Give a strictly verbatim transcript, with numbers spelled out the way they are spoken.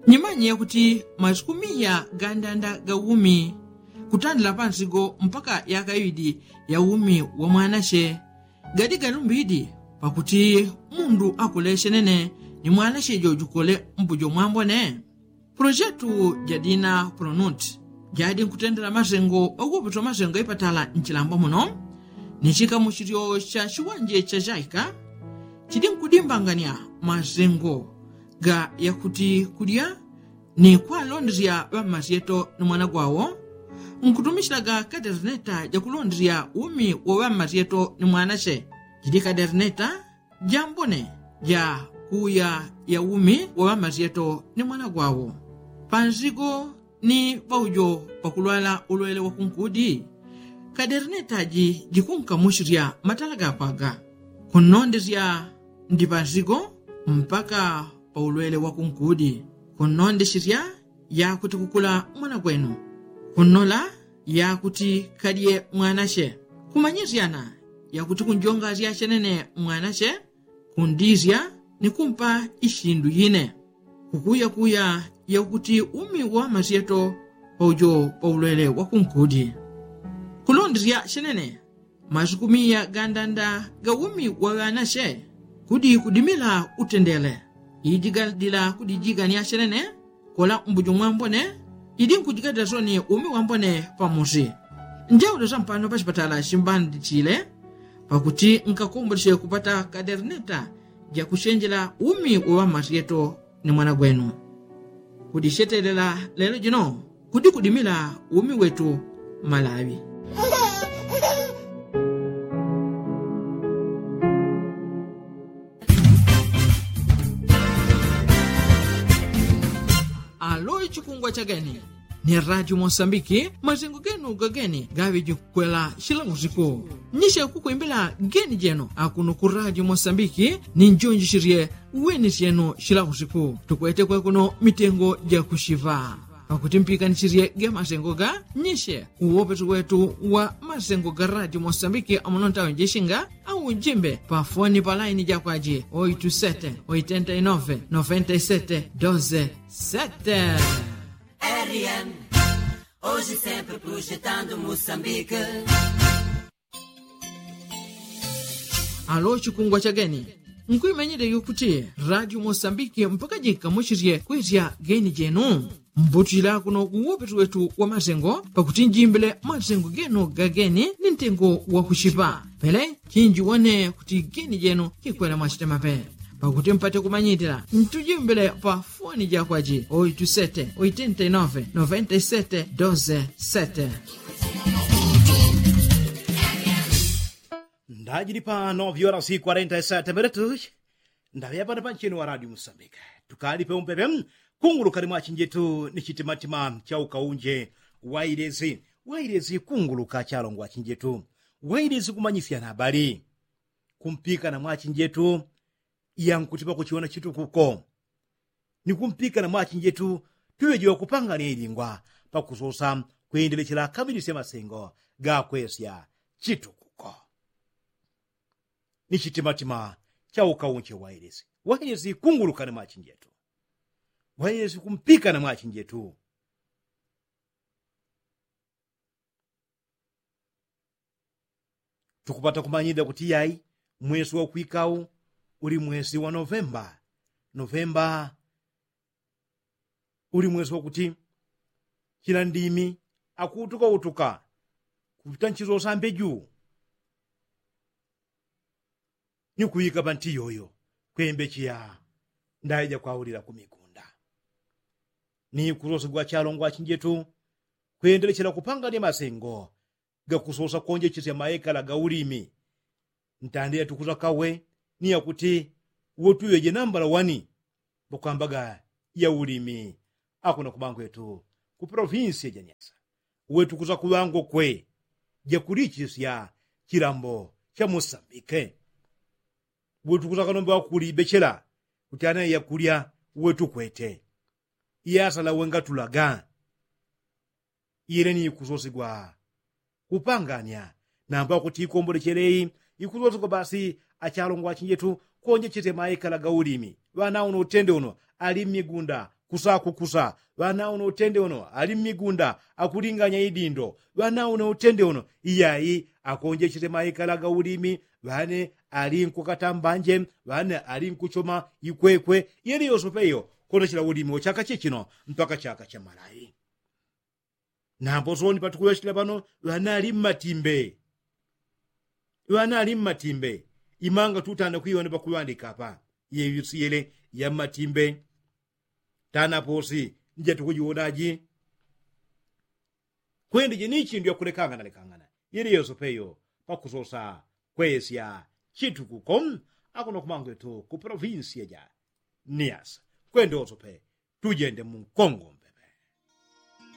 Nyimanye yakuti masiku miya gandanda ga umi kutandila pansigo mpaka yaka iwidi ya umi wa mwanache gadi galumbidi pakuti mundu akule chenene ni mwanache jojukole mbujo mwambone. Pulojetu jadina pulonuti jadi nkutendela masengo wawopetwa masengo ipatala nchilambwa muno ni chikamuchilyo cha chiwanje cha chaika chidi nkudimbangania masengo ga yakuti kulya ni kwalondesya ŵammasyeto ni mwana gwawo nkutumichilaga kaderneta jakulondesya umi wa ŵammasyeto ni mwanache. Jidi kaderneta jambone ja kuya ya umi wa ŵammasyeto ni mwana gwawo pansigo ni paujo pakulwala ulwele wa kunkudi. Kaderneta ji jikunkamuchilya matala gakwaga kunnondesya ndi pansigo mpaka pa ulwele wa kunkudi kunnondeshelya yakuti kukula mwana gwenu kunnola yakuti kalye mwanache kumanyisyana yakuti kunjongasya chenene mwanache kundisya ni kumpa ishindu yine kukuyakuya yakuti umi wa masyeto paujo pa ulwele wa kunkudi. Kulondesya chenene masuku miya gandanda ga umi wa ŵanache kudi kudimila utendele iji gadila kudijigania chenene kola mbujo mwambone iji nkujigadila soni umi wambone pamusi. Njaule sampano pachipatala chimbandichile pakuti nkakomboleche kupata kaderneta jakuchenjela umi wa ŵamasyeto ni mwana gwenu. Kudichetelela lelo jino kudi kudimila umi wetu malawi. Alo chikungwa cha geni ni radio mosambiki masengo genu gageni gaŵe jikwela chila usiku. Nyishe kukwimbila geni jenu akuno ku radio mosambiki ni njonjisherye weni syenu chila usiku tukwete kwekuno mitengo jakuchiŵa pakuti mpikanichirye ge masengo ga nyishe uwopesi wetu wa masengo ga radio mosambiki amuno ntawe njishinga au njimbe pa foni pa laini jakwaji oitu sete oitenta inove noventa isete doze sete. Rn oji sempre projetando mosambike. Alo chikungwa cha geni nkuimenyele yokuti radio mosambiki mpaka jikamuchirye kwesya geni jenu. Mbutila kuno kuwopeti wetu wa masengo pakuti njimbile masengo genu gageni ni ntengo wakuchipa pele chinjiwone kuti geni jenu kikwela mwachitemape. Pakuti mpate kumanyitila ntujimbile pa foni jakwaji oitu sete oitenta inove noventa isete doze sete. Ndajili pa nove horas quarenta isete minutos. Ndaŵeya pano panchini wa radio musambika tukali peumpepe kunguluka ni mwachinjetu ni chitimatima cha ukaunje wailesi wailesi kunguluka chalongo wachinjetu wailesi kumanyisya na habari kumpika na mwachinjetu. Yankuti pakuchiwona chitukuko ni kumpika na mwachinjetu tuŵejiwa kupangania ilingwa pakusosa kwendelechela akamilisye masengo gakwesya chitukuko. Ni chitimatima cha ukaunche wailesi wailesi kunguluka ni mwachinjetu wailesi kumpika na mwachinjetu. Tukupata kumanyida kuti yai mwesi wakwikau uli mwesi wa novemba. Novemba uli mwesi wakuti chila ndimi akuutuka utuka kupita nchizo sambe juu ni kuŵika panti yoyo kwembecheya ndaija kwaulila kumikunda. Ni kusosigwa chalongo achinjetu kwendelechela kupangania masengo gakusosa konjechesya maekala ga ulimi. Ntandila tukuza kawe ni yakuti uwo tuŵeje nambala wani pakwambaga ya ulimi. Akuna kubangwetu ku provinsia ja nyasa uwe tukuza kuŵangokwe jakulichisya chilambo cha musambike. Uwe tukuza kanombe wakulibechela kuti anaye yakulya uwe tukwete iyasala uwe ngatulaga. Ile ni ikusosigwa kupangania namba kuti ikombolechele iyi ikusosigwa basi. Achalongo achinjetu konjechesya maekala ga ulimi ŵana uno utende uno ali mmigunda kusa kukusa. Ŵana uno utende uno ali mmigunda akulinganya idindo. Ŵana uno utende uno iyayi akonjechele maikala ga ulimi. Ŵane ali nkukata mbanje. Ŵane ali nkuchoma ikwekwe. Yeli yosope iyo konochela ulimi wa chaka chichino mpaka chaka cha malayi. Nambo soni patukuŵechela pano ŵana ali mmatimbe. Ŵana ali mmatimbe. Imanga tutanda kwiwona pakuŵandika apa. Yeyusiyele ya mmatimbe. Tanaposi nje tukujiwonaji. Kwende jenichi ndyo yakulekangana lekangana yili yosope iyo pakusosa kwesya chitukuko. Akuno kumangwetu ku provinsiya ja niyasa kwende wosope tujende munkongo.